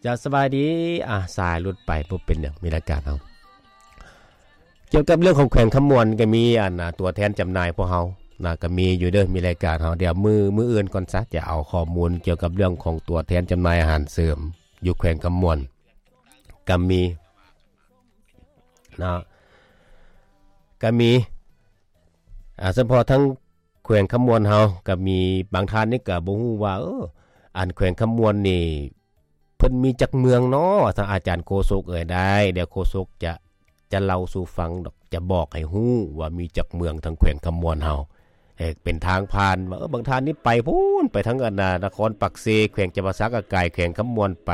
ຈະສະບາຍດີ ອາ ສາຍຫຼຸດໄປ ບໍ່ເປັນຫຍັງ ມີລາຍການເຮົາ ກ່ຽວກັບເລື່ອງຂອງແຂວງຄຳມ່ວນ ກໍມີອັນ ອາ ຕົວແທນຈຳໜ່າຍພວກເຮົານະ ກໍມີຢູ່ເດີ ມີລາຍການເຮົາ ດຽວມື້ ມື້ອື່ນກ່ອນຊະ ຈະເອົາຂໍ້ມູນກ່ຽວກັບເລື່ອງຂອງຕົວແທນຈຳໜ່າຍອາຫານເສີມຢູ່ແຂວງຄຳມ່ວນ ກໍມີນະ ກໍມີ ອາ ສະເພາະທາງແຂວງຄຳມ່ວນເຮົາ ກໍມີບາງທ່ານນີ້ກໍບໍ່ຮູ້ວ່າ ເອີ ອັນແຂວງຄຳມ່ວນນີ້ ເພິ່ນມີຈັກເມືອງເນາະ ວ່າຊັ້ນ ອາຈານໂຄສົກເອີຍ ໄດ້ ດຽວໂຄສົກຈະ ຈະເລົ່າສູ່ຟັງດອກ ຈະບອກໃຫ້ຮູ້ວ່າມີຈັກເມືອງທາງແຂວງຄຳມ່ວນເຮົາ ເອີ ເປັນທາງຜ່ານວ່າ ເອີ ບາງທ່ານນີ້ໄປພຸ້ນ ໄປທາງອັນນາ ນະຄອນປາກເຊ ແຂວງຈຳປາສັກ ກໍກາຍແຂວງຄຳມ່ວນໄປ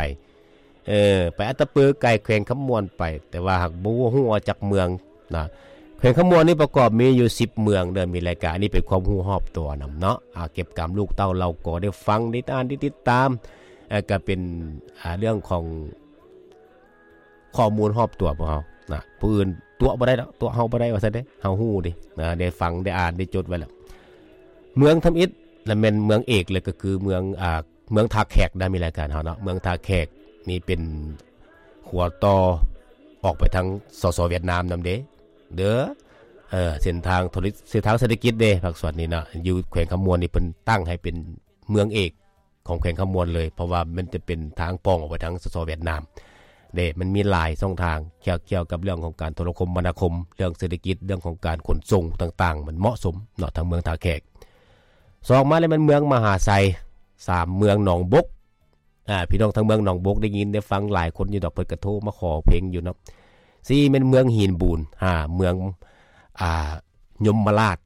ເອີ ໄປອັດຕະປື ກາຍແຂວງຄຳມ່ວນໄປ ແຕ່ວ່າຫາກບໍ່ຮູ້ວ່າຈັກເມືອງນະ ແຂວງຄຳມ່ວນນີ້ປະກອບມີຢູ່ສິບເມືອງເດີ ມີລາຍການ ອັນນີ້ເປັນຄວາມຮູ້ຮອບຕົວນຳເນາະ ອາ ເກັບກຳລູກເຕົ້າເຫຼົ່າກໍໄດ້ຟັງ ໄດ້ອ່ານ ໄດ້ຕິດຕາມ ເອີ ກໍເປັນ ອາ ເລື່ອງຂອງຂໍ້ມູນຮອບຕົວພວກເຮົານະ ຜູ້ອື່ນຕົວະບໍ່ໄດ້ດອກ ຕົວະເຮົາບໍ່ໄດ້ວ່າຊັ້ນເດ້ ເຮົາຮູ້ເດ້ນະ ໄດ້ຟັງ ໄດ້ອ່ານ ໄດ້ຈົດໄວ້ແລ້ວ ເມືອງທຳອິດ ແລະ ແມ່ນເມືອງເອກເລີຍ ກໍຄືເມືອງ ອາ ເມືອງທ່າແຂກນະ ມີລາຍການເຮົາເນາະ ເມືອງທ່າແຂກນີ້ເປັນຂົວຕໍ່ອອກໄປທາງ ສສ ຫວຽດນາມນຳເດ້ ເດີ ເອີ ເສັ້ນທາງໂທລະ ເສັ້ນທາງເສດຖະກິດເດ້ ພາກສ່ວນນີ້ນະ ຢູ່ແຂວງຄຳມ່ວນນີ້ ເພິ່ນຕັ້ງໃຫ້ເປັນເມືອງເອກຂອງແຂວງຄຳມ່ວນເລີຍ ເພາະວ່າມັນຈະເປັນທາງປ່ອງອອກໄປທາງ ສສ ຫວຽດນາມເດ້ ມັນມີຫຼາຍຊ່ອງທາງ ກ່ຽວ ກ່ຽວກັບເລື່ອງຂອງການໂທລະຄົມມະນາຄົມ ເລື່ອງເສດຖະກິດ ເລື່ອງຂອງການຂົນສົ່ງຕ່າງໆ ມັນເໝາະສົມເນາະ ທາງເມືອງທ່າແຂກ ສອງມາແລ້ວແມ່ນເມືອງມະຫາໄຊ ສາມເມືອງໜອງບົກ ອາ ພີ່ນ້ອງທາງເມືອງໜອງບົກໄດ້ຍິນໄດ້ຟັງຫຼາຍຄົນຢູ່ດອກ ເພິ່ນກະໂທມາຂໍເພງຢູ່ເນາະ ສີ່ແມ່ນເມືອງຫີນບູນ ຫ້າເມືອງ ອາ ຍົມມະລາດ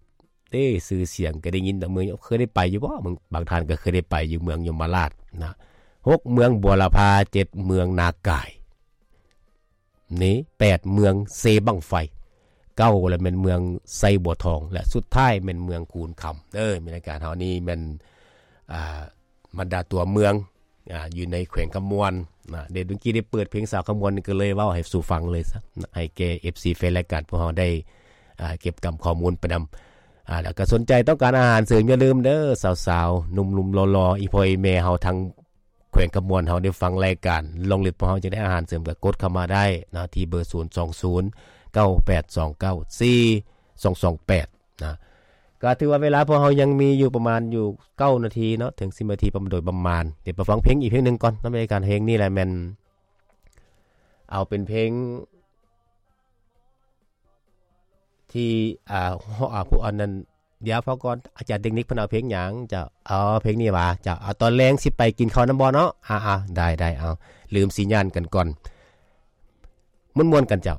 ເດ້ ຊື່ສຽງກໍໄດ້ຍິນດອກ ເມືອງ ເຄີຍໄດ້ໄປຢູ່ບໍ່ ບາງ ບາງທ່ານກໍເຄີຍໄດ້ໄປຢູ່ເມືອງຍົມມະລາດນະ ຫົກເມືອງບົວລະພາ ເຈັດເມືອງນາກາຍ ນີ້ ແປດເມືອງເຊບັ້ງໄຟ ເກົ້າລະແມ່ນເມືອງໄຊບົວທອງ ແລະ ສຸດທ້າຍແມ່ນເມືອງຄູນຄຳເດີ ມີລາຍການເຮົານີ້ແມ່ນ ອາ ບັນດາຕົວເມືອງ ອາ ຢູ່ໃນແຂວງຄຳມ່ວນນະ ເດ ເມື່ອກີ້ໄດ້ເປີດເພງສາວຄຳມ່ວນ ກໍເລີຍເວົ້າໃຫ້ສູ່ຟັງເລີຍຊະ ໃຫ້ແກ່ ເອັຟຊີ ແຟນລາຍການພວກເຮົາໄດ້ ອາ ເກັບກຳຂໍ້ມູນໄປນຳ ອາ ແລ້ວກໍສົນໃຈຕ້ອງການອາຫານເສີມ ຢ່າລືມເດີ ສາວໆ ໜຸ່ມໆ ຫຼໍ່ໆ ອີ່ພໍ່ອີ່ແມ່ເຮົາທາງ ແຂວງຄຳມ່ວນເຮົາໄດ້ຟັງລາຍການ ລອງເລັດພວກເຮົາຈະໄດ້ອາຫານເສີມ ກໍກົດເຂົ້າມາໄດ້ນະ ທີ່ເບີ ສູນສອງສູນ ເກົ້າແປດສອງເກົ້າ ສີ່ສອງສອງແປດ ນະ ກໍຖືວ່າເວລາພວກເຮົາຍັງມີຢູ່ປະມານຢູ່ເກົ້ານາທີເນາະ ເຖິງສິບນາທີປະມານ ໂດຍປະມານ ດຽວໄປຟັງເພງອີກເພງໜຶ່ງກ່ອນນຳ ໃນການເພງນີ້ແຫຼະ ແມ່ນເອົາເປັນເພງ ທີ່ ອ່າ ອາ ຜູ້ອັນນັ້ນ ດຽວຟັງກ່ອນ ອາຈານເຕັກນິກເພິ່ນເອົາເພງຫຍັງ ເຈົ້າ ເອົາເພງນີ້ຫວາ ເຈົ້າ ເອົາຕອນແລງຊິໄປກິນເຂົ້ານຳບໍ່ເນາະ ອາໆ ໄດ້ໆ ເອົາ ລືມສັນຍານກັນກ່ອນ ມ່ວນໆ ກັນເຈົ້າ.